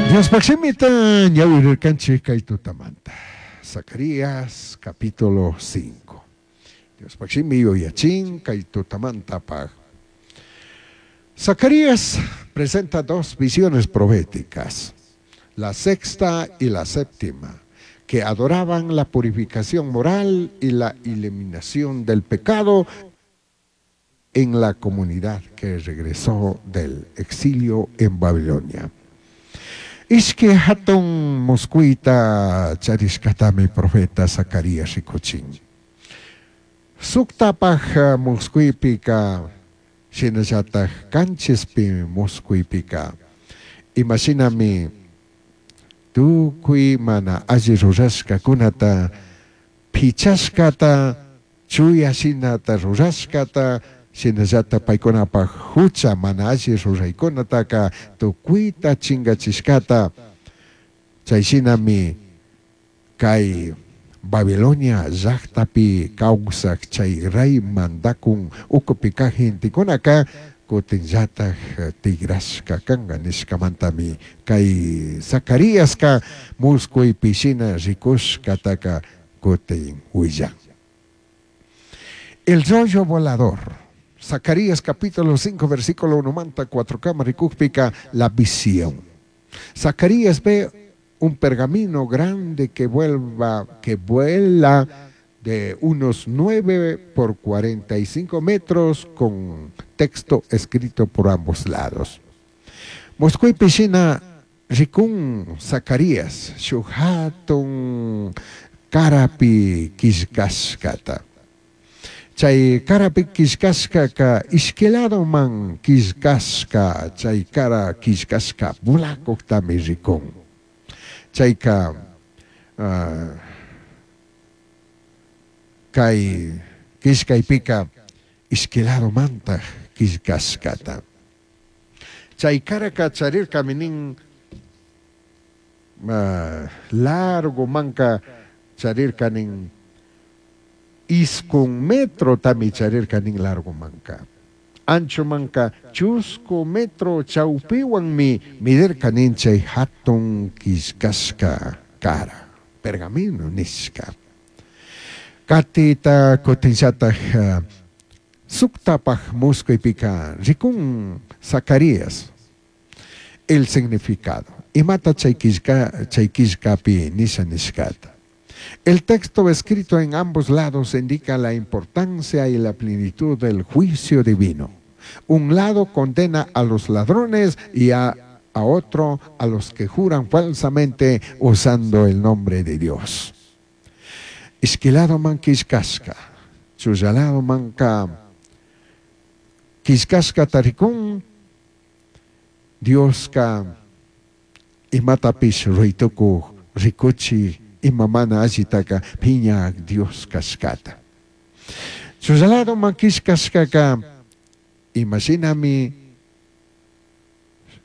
Diospaj shimita ñawirircanchij kay tutamanta. Zacarías capítulo 5. Diospaj shimi yuyachin kay tutamantapaj. Zacarías presenta dos visiones proféticas, la sexta y la séptima, que adoraban la purificación moral y la eliminación del pecado en la comunidad que regresó del exilio en Babilonia. Ishqui jatun muscuita charishcatami profeta Zacarías ricuchin. Suctapaj muscuipica shinallataj canchispi muscuipica imashinami tucui mana alli rurashcacunata pichashcata chuya shinata rurashcata shinallata paicunapaj hucha mana alli ruraicunataca tucuita chingachishcata chay shinami kay Babilonia llajtapi kawsaj chay rey mandakun ukupi kaj gentekunaka kutinllataj tigrashka kanka nishkamantami kay Zacariaska muscuypi shina rikushkataka kutin willan. El rollo volador. Zacarías capítulo 5 versículo 1 manta 4 kama rikujpika la visión. Zacarías ve un pergamino grande que vuelva, que vuela de unos 9 por 45 metros con texto escrito por ambos lados. Muscuipi shina ricun Zacarías shuj jatun carapi quillcashcata. Chay carapi quillcashcaca ishqui ladoman quillcashca chay cara quillcashca volacujtami ricun. Chayka kay quillcaypika ishqui ladomantaj quillcashcata. Chay caraka charirkami nin largo manka charirka nin isqun metrotami charirka nin largo manka. Ancho manka chusku metro chawpiwanmi midirka nin chay hatun quillcashka cara, pergamino nishka. Katita kutinllataj suctapaj muscuypika rikun Zacarías el significado. Imata chay quillca chay quillcapi nisha nishkata. El texto escrito en ambos lados indica la importancia y la plenitud del juicio divino. Un lado condena a los ladrones y a otro a los que juran falsamente usando el nombre de Dios. Ishqui ladoman quillcashka, chulla ladomanka quillcashcata ricun Dioska imatapish ruitukuj ricuchi ima mana allitaka piñak Dios kashkata. Chulla ladoman quillcashkaka imashinami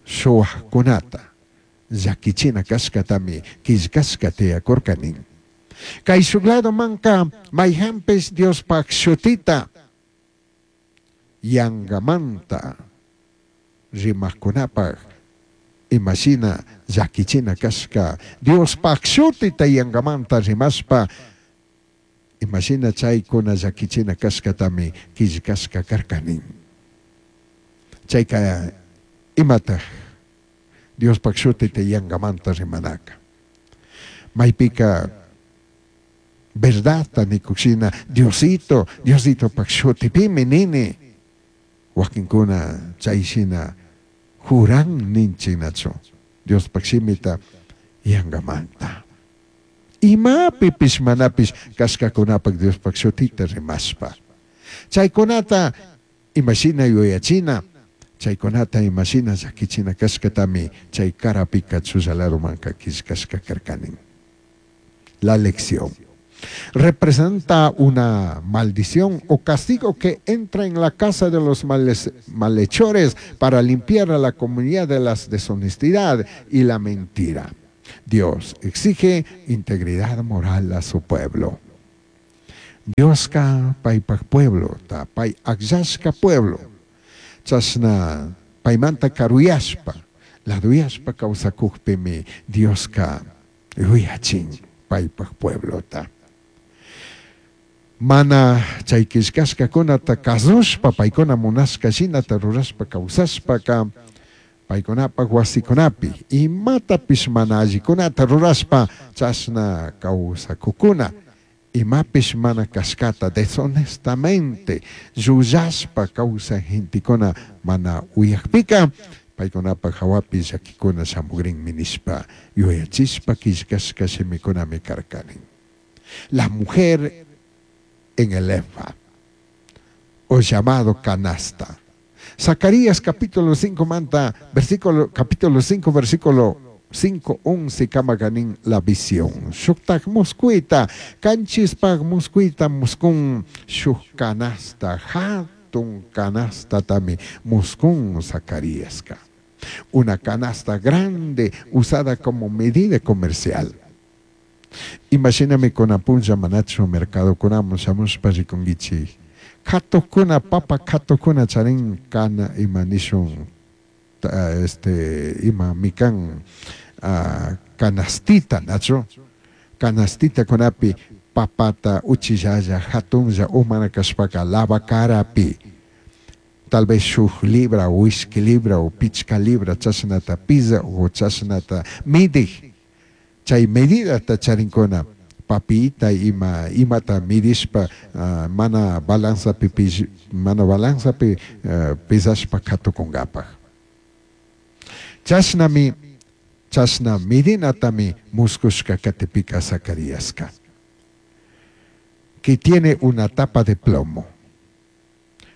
shuwajkunata llakichina kashkatami quillcashka tiyakurka nin. Kay shuk ladomanka mayjanpish Diospaj shutita yangamanta rimajkunapaj imashina llakichina kashka Diospaj shutita yangamanta rimashpa imashina chaykuna llakichina kashkatami quillcashka karka nin. Chayka imataj Diospaj shutita yangamanta rimanaka. Maypika verdadta nikushina Diosito, Diositopaj shutipimi nini. Wakinkuna chayshina juran ninchinachu Diospaj shimita yangamanta. Imapipish manapish kashkakunapak Diospaj shutita rimashpa. Chaykunata imashina yuyachina, chaykunata imashina llakichina kashkatami chay carapika chulla ladomanka quillcashka karkanin. La lección. Representa una maldición o castigo que entra en la casa de los malhechores para limpiar a la comunidad de la deshonestidad y la mentira. Dios exige integridad moral a su pueblo. Dioska paipaj pueblo, ta pai akllashka pueblo. Chashna paimanta karuyashpa, Laduyashpa kawsakukpimi Dioska yuyachin paypak pueblota. Mana chay killkashkakunata kasushpa paykuna munashka shinata rurashpa kawsashpaka paykunapak wasikunapi imatapish mana allikunata rurashpa chashna kawsakukuna imapish mana kashkata deshonestamente llullashpa kawsaj gentekuna mana uyakpika paykunapak hawapi llakikuna shamugrinmi nishpa yuyachishpa killkashka shimikunami karkanin. La mujer en el efa o llamado canasta. Zacarías capítulo 5 manta versículo capítulo 5 versículo 5 11 kamaganin la visión. Shuktak muskuita kanchispak muskuita muskun shuk canasta hatun canasta tami muskun Zacaríaska. Una canasta grande usada como medida comercial. Imashinami kunan punlla manachu mercadokunaman shamushpa rikunkichik. Katukuna papa katukuna charin kana ima nishun este ima mikan canastita nachu canastita kunapi papata uchillalla hatunlla umana kashpaka lavacarapi tal vez shuk libra o ishki libra o pichka libra chashnata pisa o chashnata midik chay medidata charinkuna papita ima imata midishpa mana balanzapi mana balanzapi pisashpa katukunkapaj. Chashnami chashna midinatami muskushka katipika Zacariaska. Que tiene una tapa de plomo.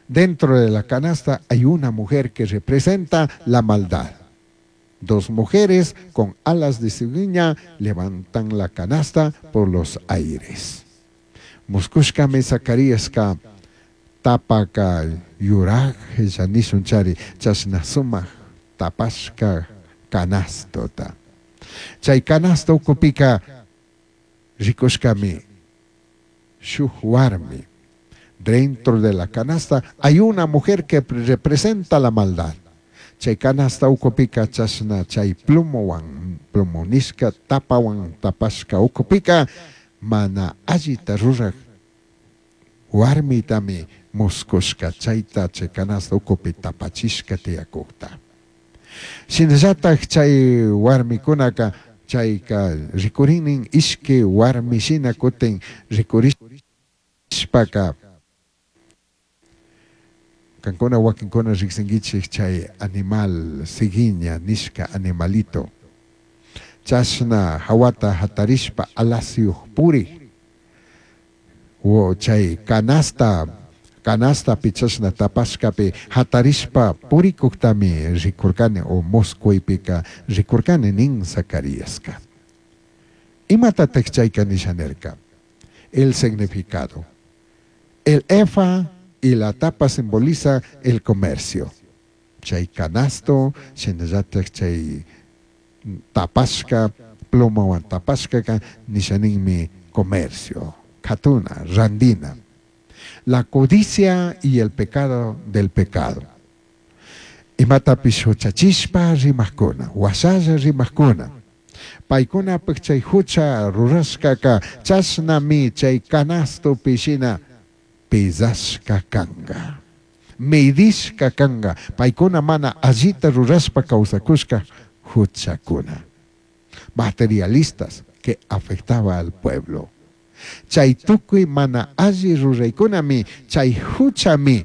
Dentro de la canasta hay una mujer que representa la maldad. Dos mujeres con alas de cigüeña levantan la canasta por los aires. Muskushkami Zacariaska tapaka yuraj nishun chari chashna sumak tapashka canastota. Chay canasta ukupika rikushkami shuk warmi. Dentro de la canasta hay una mujer que representa la maldad. Chay canasta ukupika chashna chay plumowan plumonishka tapawan tapashka ukupika mana allita ruraj warmitami muskushka chayta chay canasta ukupi tapachishka tiyakukta. Shinallatak chay warmikunaka chayka rikurinin ishki warmi shina kutin rikurishpaka kankuna wakinkuna riqsinkichik chay animal ciguiña nishka animalito chashna hawata hatarishpa alasyuq purik o chay canasta canastapi chashna tapashkapi hatarishpa purikuktami rikurkani o musquypika rikurkani nin Zacariaska. Imatatak chayka nisha nirka? El significado. El efa y la tapa simboliza el comercio. Chay canasto, shinallatak chay tapashka, plomowan tapashkaka nishaninmi comercio, katuna, randina. La codicia y el pecado del pecado. Imatapish huchachishpa rimajkuna, washalla rimajkuna. Paykunapak chay hucha rurashkaka chashnami chay canastopi shina pisashka kanka. Medishka kanka. Paykuna mana allita rurashpa kawsakushka huchakuna. Materialistas que afectaba al pueblo. Chay tukuy mana alli ruraykunami, chay huchami,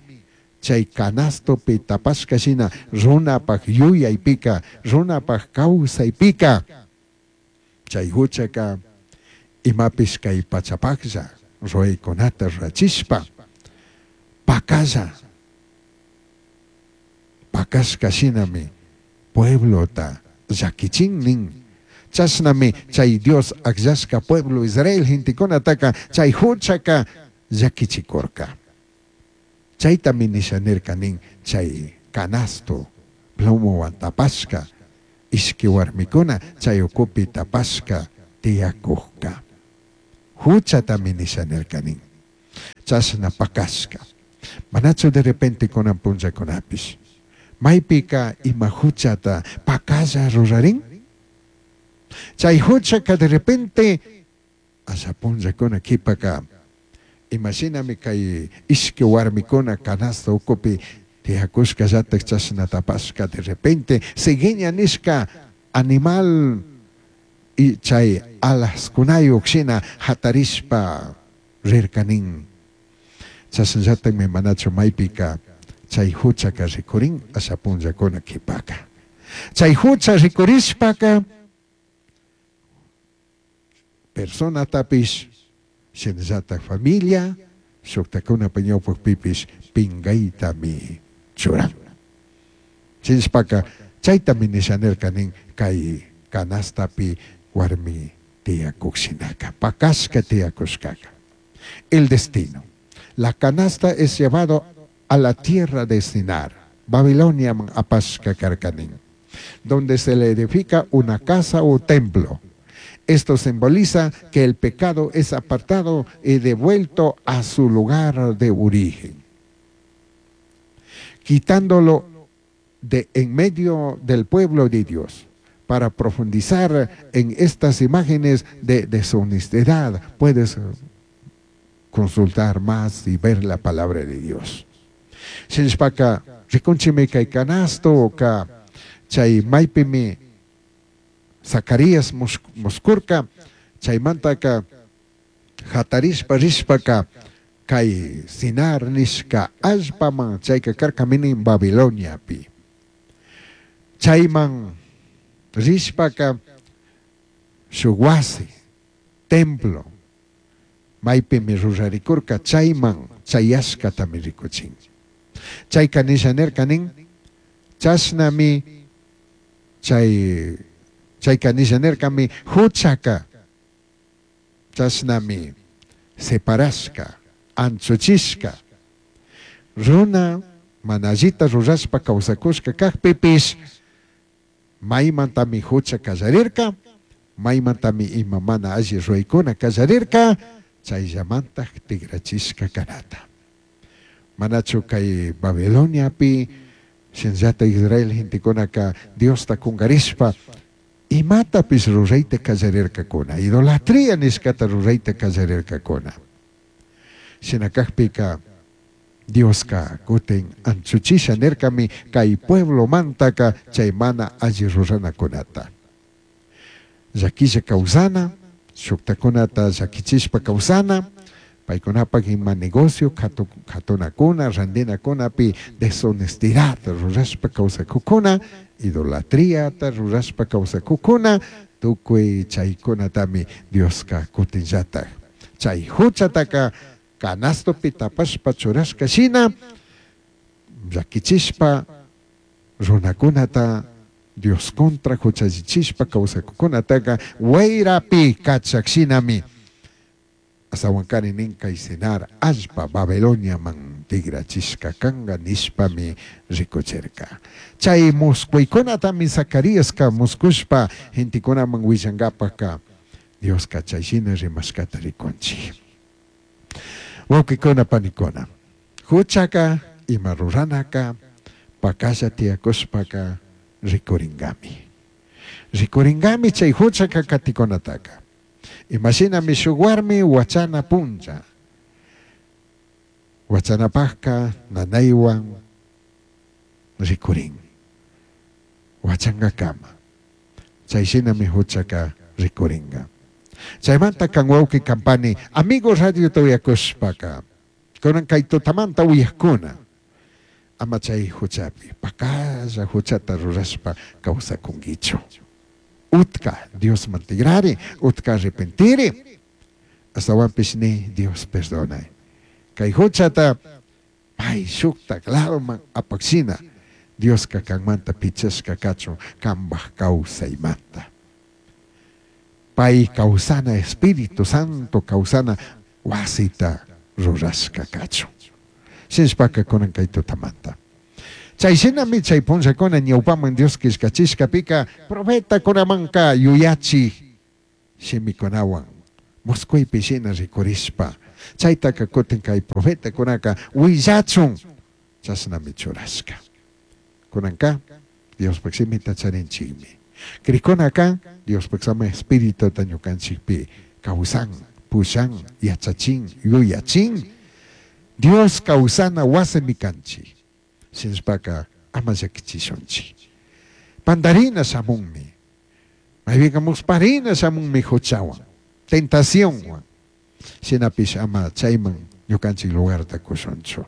chay canastopi tapashka shina runapak yuyaypika, runapak kawsaypika. Chay huchaka imapish kay pachapaklla ruraykunata rurachishpa pakalla pakashka shinami pueblota llakichin nin. Chashnami chay Dios akllashka pueblo Israel gentekunataka chay huchaka llakichikurka. Chaytami nisha nirka nin chay canasto plomowan tapashka ishki warmikuna chay ukupi tapashka tiyakukka. Huchatami nisha nirka nin. Chashna pakashka. Manachu de repente kunan punllakunapish. Maipica ima huchata pacalla rurarin? Chay huchaka de repente asha punllakuna qhipaka imashinami kay ishki warmikuna canasta ukupi tiyakushkallatak chashna tapashka de repente cigueña nishka animal y chay alaskunayuq shina hatarishpa rirkanin. Chashnallatakmi manachu maypika chay huchaka rikurin asha punllakuna qhipaka. Chay hucha rikurishpaka personatapish shinallatak familia shuktakunapa ñawpakpipish pinqaytami churan. Shinashpaka chaytami nisha nirka nin kay canastapi warmi tiyakuk shinaka, pakashka tiyakushkaka. El destino. La canasta es llevado a la tierra de Sinar, Babiloniaman apashka karka nin, donde se le edifica una casa o templo. Esto simboliza que el pecado es apartado y devuelto a su lugar de origen, quitándolo de en medio del pueblo de Dios. Para profundizar en estas imágenes de deshonestidad, puedes consultar más y ver la palabra de Dios. Shinashpaka rikunchimi kay canasto ka chay maypimi Zacarías muskurka chaymantaka hatarishpa rishpaka kay Sinar nishka allpaman chayka karkami nin Babiloniapi. Chayman rishpaka shuk wasi, templo, maypimi rurarikurka chayman chayashkatami rikuchin. Chayka nisha nirka nin, chashnami chay chayka nisha nirkami huchaka chashnami separashka, anchuchishka. Runa mana allita rurashpa kawsakushka kakpipish maymantami hucha kallarirka, maymantami ima mana alli ruraykuna kallarirka, chayllamantaj tigrachishka kanata. Manachu kay Babiloniapi shinallata Israel gentekunaka Diosta kunkarishpa imatapish rurayta kallarirkakuna, idolatría nishkata rurayta kallarirkakuna. Shina kakpika Dioska kutin anchuchisha nirkami kay pueblomantaka chay mana alli ruranakunata. Llakilla kawsana, shuktakunata llakichishpa kawsana, paykunapak ima negocio katunakuna, randinakunapi deshonestidad rurashpa kawsakukuna, idolatriata rurashpa kawsakukuna, tukuy chaykunatami Dioska kutinllatak. Chay huchataka canastopi tapashpa churashka shina llakichishpa runakunata Dios contra huchallichishpa kawsakukunataka wayrapi kachak shinami asawankari nin kay Sinar allpa Babiloniaman tigrachishka kanka nishpami rikuchirka. Chay musquykunatami Zacariaska muskushpa gentekunaman willankapaka Dioska chay shina rimashkata rikunchik. Wawqikuna panikuna, huchaka ima ruranaka pakalla tiyakushpaka rikuringami. Rikuringami chay huchaka katikunataka. Imashinami shuk warmi wachana punlla. Wachanapajka nanaywan rikurin. Wachankakama. Chay shinami huchaka rikuringa. Chaymanta kan wawqi kampani amigo radio uyakushpaka kunan kay tutamanta uyakuna ama chay huchapi pakalla huchata rurashpa kawsakunkichu. Utka Diosman tigrari, utka arrepentiri, astawanpish ni Dios perdonay. Kay huchata may shuktak ladoman apakshina Dioska kanmanta pichashka kachun kambaj kawsaymanta. Pay kawsana Espíritu Santo kawsana wasita rurashka kachun. Shinashpaka kunan kay tutamanta. Chay shinami chay punllakuna ñawpaman Dios killkachishkapika profetakunamanka yuyachi shimikunawan musquypi shina rikurishpa chaytaka kutin kay profetakunaka willachun chashnami churashka. Kunanka Diospaj shimita charinchikmi. Crijkunaka Diospaj sama espirituta ñukanchikpi kawsan, pushan, yachachin, yuyachin. Dios kawsana wasimi kanchik. Shinashpaka ama llakichishunchik. Pandarina shamunmi. Maypika musparina shamunmi huchawan, tentacionwan. Shinapish ama chayman ñukanchik lugarta kushunchu.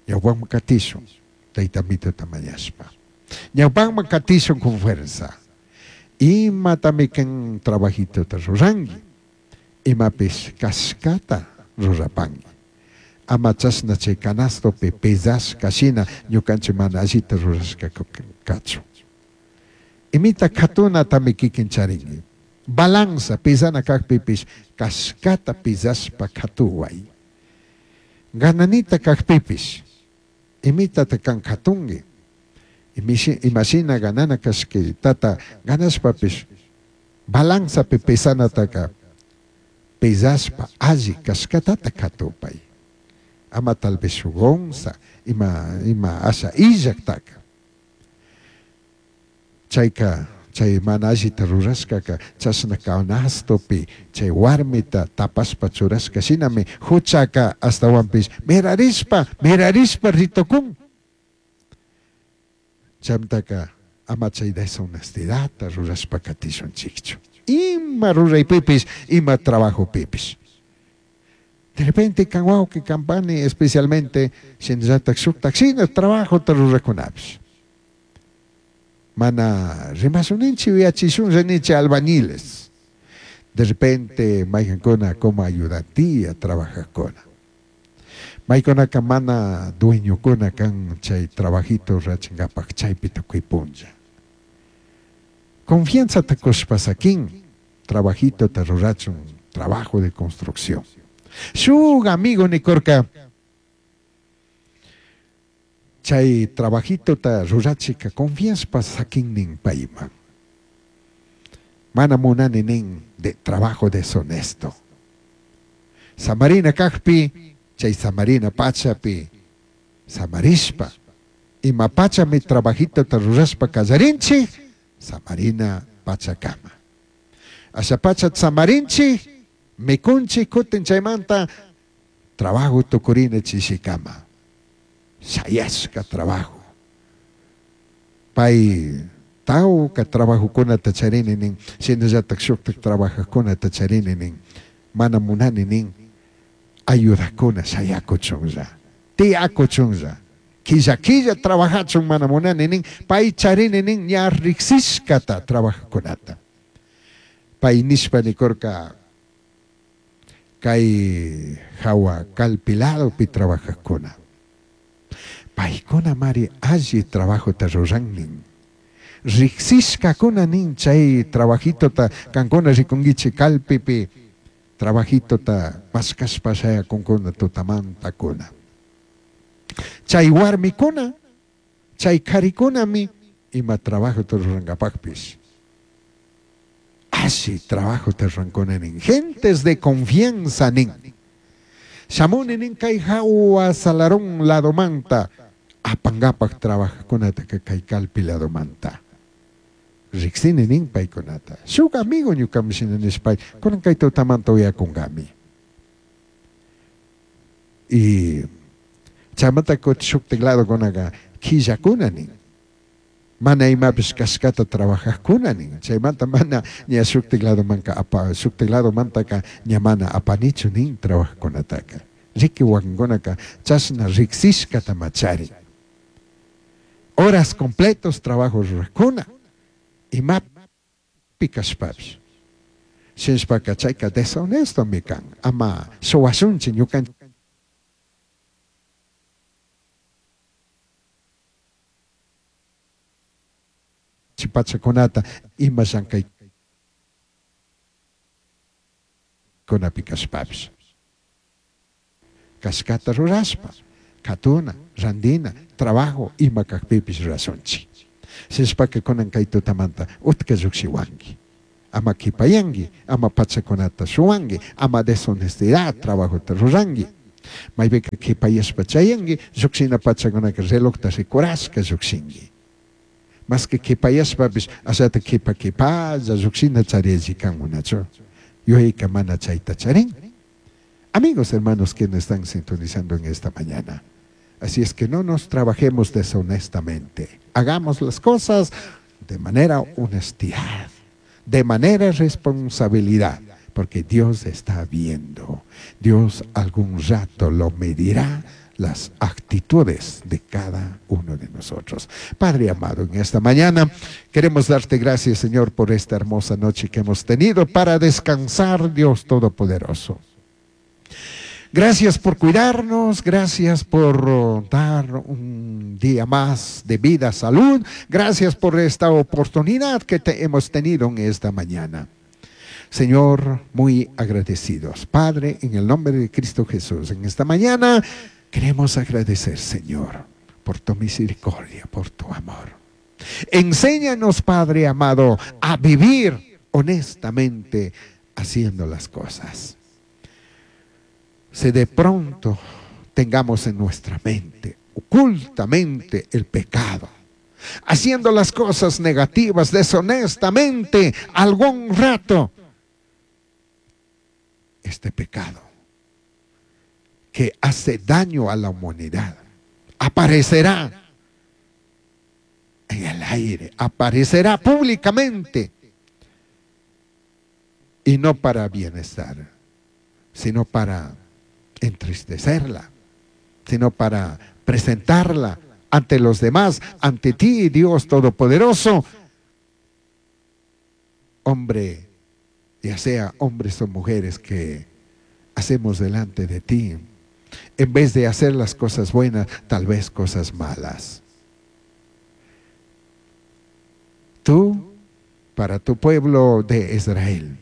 Ñawpakman katishun, Tayta Amituta mañashpa. Ñawpakman katishun con fuerza. Imatami kan trabajituta ruranki, imapish kashkata rurapanki. Ama chashna chay canastopi pesashka shina ñukanchik mana allita rurashka kachun. Imita katunatami kikin charinki. Balanza pesana kakpipish kashkata pesashpa katuway. Gananita kakpipish imitata kan katunki. Imashina ganana kashkitata ganashpapish balanzapi pesanataka pesashpa alli kashkatata katupay. Ama tal vez shuk onza ima asha illaktaka. Chayka chay mana allita rurashkaka chashna canastopi chay warmita tapashpa churashka shinami huchaka ashtawanpish mirarishpa mirarishpa ritukun. Chaymantaka ama chay deshonestidadta rurashpa katishunchikchu. Ima ruraypipish, ima trabajopipish. De repente kan wawqi, kan pani, especialmente shinallatak shuktak shina trabajota rurakunapish. Mana rimashunninchik yuyachishunlla ninchik albañiles. De repente maykankuna como ayudantía trabajajkuna. Maykunaka mana dueñokuna kan chay trabajito rurachinkapak chaypi tukuy punlla. Confianzata kushpa sakin trabajitota rurachun trabajo de construcción. Shuk amigo nikurka chay trabajitota rurachika confianzpa sakin nin payman. Mana munani nin de trabajo deshonesto. Samarina kakpi chay samarina pachapi samarishpa ima pachami trabajitota rurashpa kallarinchik samarina pachakama. Asha pacha samarinchik mikunchik kutin chaymanta trabajo tukurina chishikama. Shayashka trabajo. Pay tawka trabajokunata charini nin, shinallatak shuktak trabajakunata charini nin, mana munani nin, ayudakuna shayakuchunlla, tiyakuchunlla, killa killa trabajachun mana munani nin, pay charini nin ña riksishkata trabajakunata. Pay nishpa nikurka kay hawa kalpiladopi trabajakuna. Paykuna mari alli trabajota ruran nin. Riksishkakuna nin chay trabajitota kankuna rikunkichik kalpipi trabajitota mashkashpa shayakunkuna tutamantakuna. Chay warmikuna, chay karikunami ima trabajota rurankapakpish. Alli trabajota rurankuna nin. Gentes de confianza nin. Shamuni nin kay hawa salarón ladomanta apankapak trabajakunataka kay kalpi ladomanta. Riksini nin paykunata. Shuk amigo ñukami shina nishpay kunan kay tutamanta uyakunkami. Y chaymanta kutin shuktik ladokunaka killakuna nin. Mana imapish kashkata trabajakuna nin. Chaymanta mana ña shuktik ladomanka apa shuktik ladomantaka ña mana apanichu nin trabajakunataka. Riki wakinkunaka chashna riksishkata machari. Horas completos trabajo rurakuna. Imapi kashpapish. Shinashpaka chayka deshonestomi kan. Ama suwashunchik ñukanchik pachakunata ima llankaykunapi kashpapish. Kashkata rurashpa, katuna, randina, trabajo ima kakpipish rurashunchik. Shinashpaka kunan kay tutamanta utka llukshiwanki. Ama kipayanki, ama pachakunata shuwanki, ama deshonestidad trabajota ruranki. Maypika kipayashpa chayanki, llukshina pachakunaka relojta rikurashka llukshinki. Masqui q'uipayashpapish ashata q'uipa q'uipalla llujshina chari cancunachu. Yuyaica mana chaita charin. Amigos, hermanos, quienes están sintonizando en esta mañana. Así es que no nos trabajemos deshonestamente. Hagamos las cosas de manera honestidad, de manera responsabilidad, porque Dios está viendo. Dios algún rato lo medirá las actitudes de cada uno de nosotros. Padre amado, en esta mañana queremos darte gracias, Señor, por esta hermosa noche que hemos tenido para descansar, Dios Todopoderoso. Gracias por cuidarnos, gracias por dar un día más de vida, salud, gracias por esta oportunidad que te hemos tenido en esta mañana. Señor, muy agradecidos. Padre, en el nombre de Cristo Jesús, en esta mañana queremos agradecer, Señor, por tu misericordia, por tu amor. Enséñanos, Padre amado, a vivir honestamente haciendo las cosas. Si de pronto tengamos en nuestra mente, ocultamente, el pecado, haciendo las cosas negativas deshonestamente algún rato, este pecado que hace daño a la humanidad aparecerá en el aire, aparecerá públicamente, y no para bienestar, sino para entristecerla, sino para presentarla ante los demás, ante ti, Dios Todopoderoso. Hombre, ya sea hombres o mujeres que hacemos delante de ti, en vez de hacer las cosas buenas, tal vez cosas malas. Tú, para tu pueblo de Israel,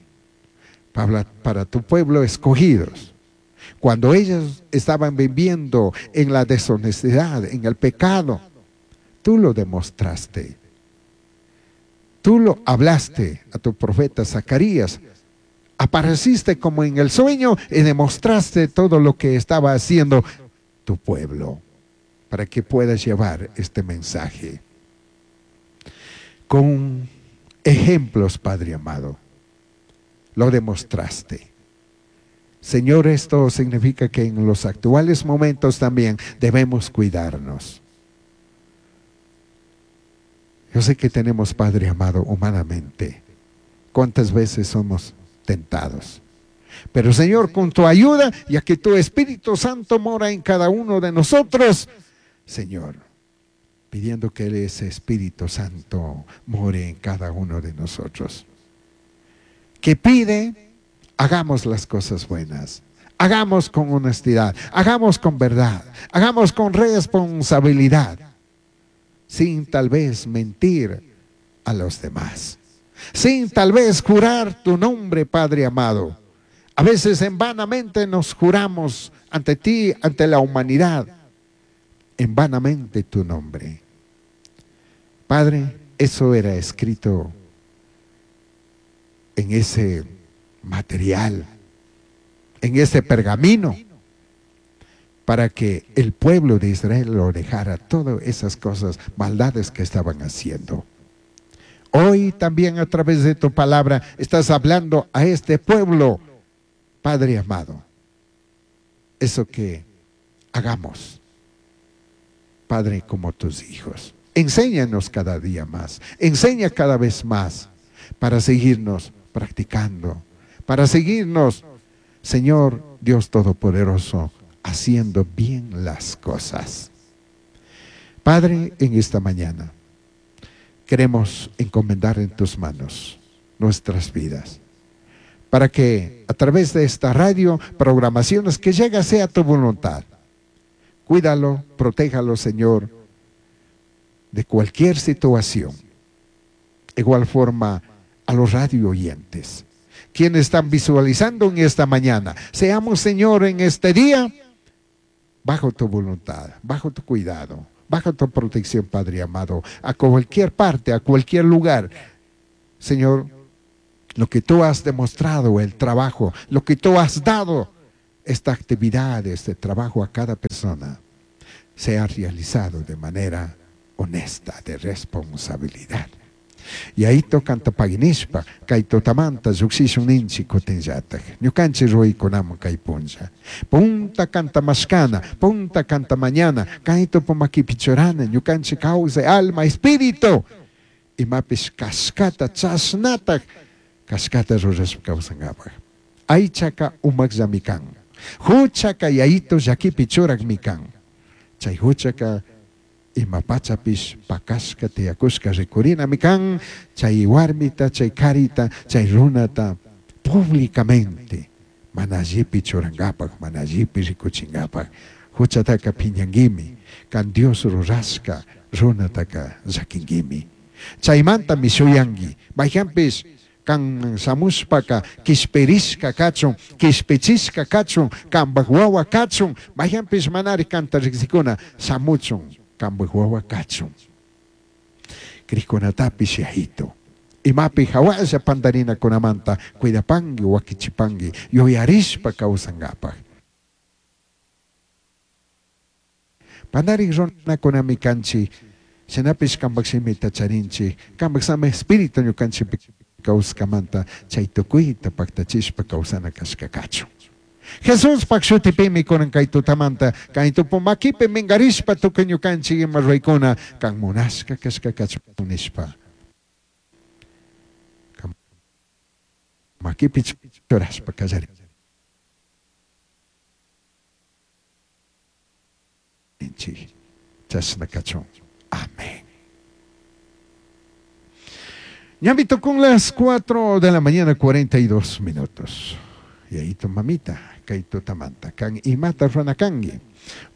para tu pueblo escogidos, cuando ellos estaban viviendo en la deshonestidad, en el pecado, tú lo demostraste. Tú lo hablaste a tu profeta Zacarías. Apareciste como en el sueño y demostraste todo lo que estaba haciendo tu pueblo, para que puedas llevar este mensaje. Con ejemplos, Padre amado, lo demostraste. Señor, esto significa que en los actuales momentos también debemos cuidarnos. Yo sé que tenemos, Padre amado, humanamente, cuántas veces somos tentados. Pero, Señor, con tu ayuda, ya que tu Espíritu Santo mora en cada uno de nosotros, Señor, pidiendo que ese Espíritu Santo more en cada uno de nosotros. Que pide, hagamos las cosas buenas, hagamos con honestidad, hagamos con verdad, hagamos con responsabilidad, sin tal vez mentir a los demás, sin tal vez jurar tu nombre, Padre amado. A veces en vanamente nos juramos ante ti, ante la humanidad, en vanamente tu nombre. Padre, eso era escrito en ese material, en ese pergamino, para que el pueblo de Israel lo dejara, todas esas cosas, maldades que estaban haciendo. Hoy también a través de tu palabra estás hablando a este pueblo, Padre amado. Eso que hagamos, Padre, como tus hijos. Enséñanos cada día más, enseña cada vez más para seguirnos practicando, para seguirnos, Señor Dios Todopoderoso, haciendo bien las cosas. Padre, en esta mañana queremos encomendar en tus manos nuestras vidas, para que a través de esta radio, programaciones, que llega sea tu voluntad. Cuídalo, protéjalo, Señor, de cualquier situación. Igual forma a los radio oyentes, quienes están visualizando en esta mañana. Seamos, Señor, en este día, bajo tu voluntad, bajo tu cuidado, bajo tu protección, Padre amado, a cualquier parte, a cualquier lugar. Señor, lo que tú has demostrado, el trabajo, lo que tú has dado, esta actividad, este trabajo a cada persona, sea realizado de manera honesta, de responsabilidad. Yaito kanta paginishpa, kay tutamanta llukshishun ninchik kutinllatak. Ñukanchik ruraykunaman kay punlla. Punta kanta mashkana, punta kanta mañana, kay tupu makipi churana, ñukanchik kawsay, alma, espíritu. Imapish kashkata, chashnatak kashkata rurashpa kawsankapak. Aychaka umakllami kan. Huchaka yaito llakipi churakmi kan. Chay huchaka ima pachapish pakashka tiyakushka rikurinami kan, chay warmita, chay karita, chay runata públicamente mana allipi churankapak, mana allipi rikuchinkapak. Huchataka piñanguimi, kan Dios rurashka runataka llakinguimi. Chaymantami shuyanki, mayhanpish kan shamushpaka kishpirishka kachun, kishpichishka kachun, kanpak wawa kachun, mayhanpish manari kanta riksikuna shamuchun, kanpak wawa kachun. Krikunatapish yajito. Imapi hawalla pandarinakunamanta cuidapanki, wakichipanki, yuyarishpa kawsankapak. Pandarik runakunami kanchik, shinapish kanpak shimita charinchik, kanpak sama espíritu ñukanchikpi kawskamanta chay tukuyta paktachishpa kawsana kashka kachun. Jesuspak shutipimi kunan kay tutamanta kay tupu makipi minkarishpa tukuy ñukanchik ima ruraykuna kan munashka kashka kachun nishpa. Makipi churashpa kallarinchik. Chashna kachun. Amén. Ñami tukun las 4 de la mañana 42 minutos. Y ahí tu mamita, kay tutamanta, kan imata runa kanki.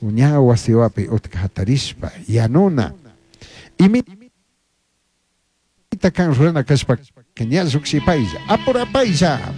Uña wasiwapi utka hatarishpa, yanuna. Imita kan runa kashpa, ña llukshipaylla, apurapaylla.